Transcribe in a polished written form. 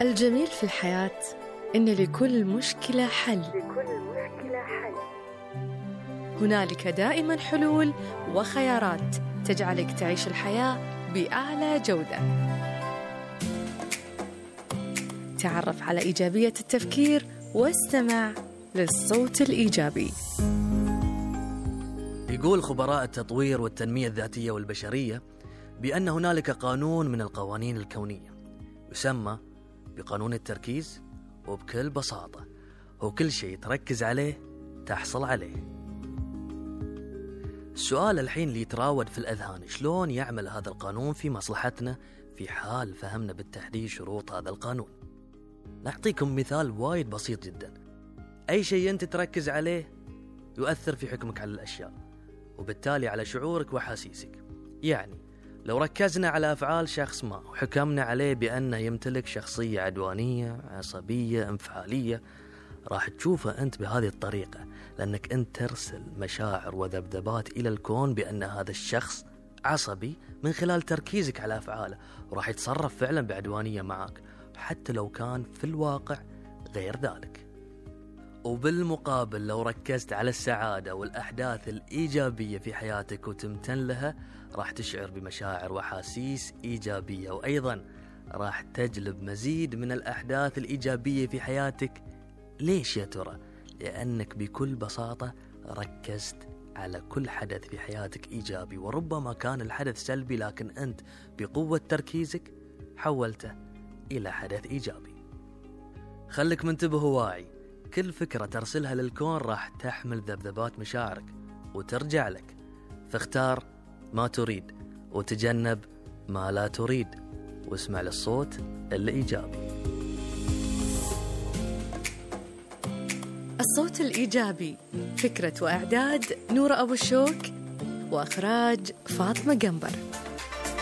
الجميل في الحياة إن لكل مشكلة حل. هنالك دائما حلول وخيارات تجعلك تعيش الحياة بأعلى جودة. تعرف على إيجابية التفكير واستمع للصوت الإيجابي. يقول خبراء التطوير والتنمية الذاتية والبشرية بأن هنالك قانون من القوانين الكونية يسمى بقانون التركيز، وبكل بساطة هو كل شيء تركز عليه تحصل عليه. السؤال الحين اللي يتراود في الأذهان، شلون يعمل هذا القانون في مصلحتنا في حال فهمنا بالتحديد شروط هذا القانون؟ نعطيكم مثال وايد بسيط جدا. أي شيء أنت تركز عليه يؤثر في حكمك على الأشياء، وبالتالي على شعورك وحاسيسك. يعني لو ركزنا على أفعال شخص ما وحكمنا عليه بأنه يمتلك شخصية عدوانية، عصبية، انفعالية، راح تشوفه أنت بهذه الطريقة، لأنك أنت ترسل مشاعر وذبذبات إلى الكون بأن هذا الشخص عصبي من خلال تركيزك على أفعاله، وراح يتصرف فعلا بعدوانية معك حتى لو كان في الواقع غير ذلك. وبالمقابل لو ركزت على السعادة والأحداث الإيجابية في حياتك وتمتن لها، راح تشعر بمشاعر وحاسيس إيجابية، وأيضا راح تجلب مزيد من الأحداث الإيجابية في حياتك. ليش يا ترى؟ لأنك بكل بساطة ركزت على كل حدث في حياتك إيجابي، وربما كان الحدث سلبي لكن أنت بقوة تركيزك حولته إلى حدث إيجابي. خلك منتبه وواعي، كل فكرة ترسلها للكون راح تحمل ذبذبات مشاعرك وترجع لك، فاختار ما تريد وتجنب ما لا تريد، واسمع للصوت الإيجابي. الصوت الإيجابي، فكرة وإعداد نورة أبو الشوك، وإخراج فاطمة قنبر.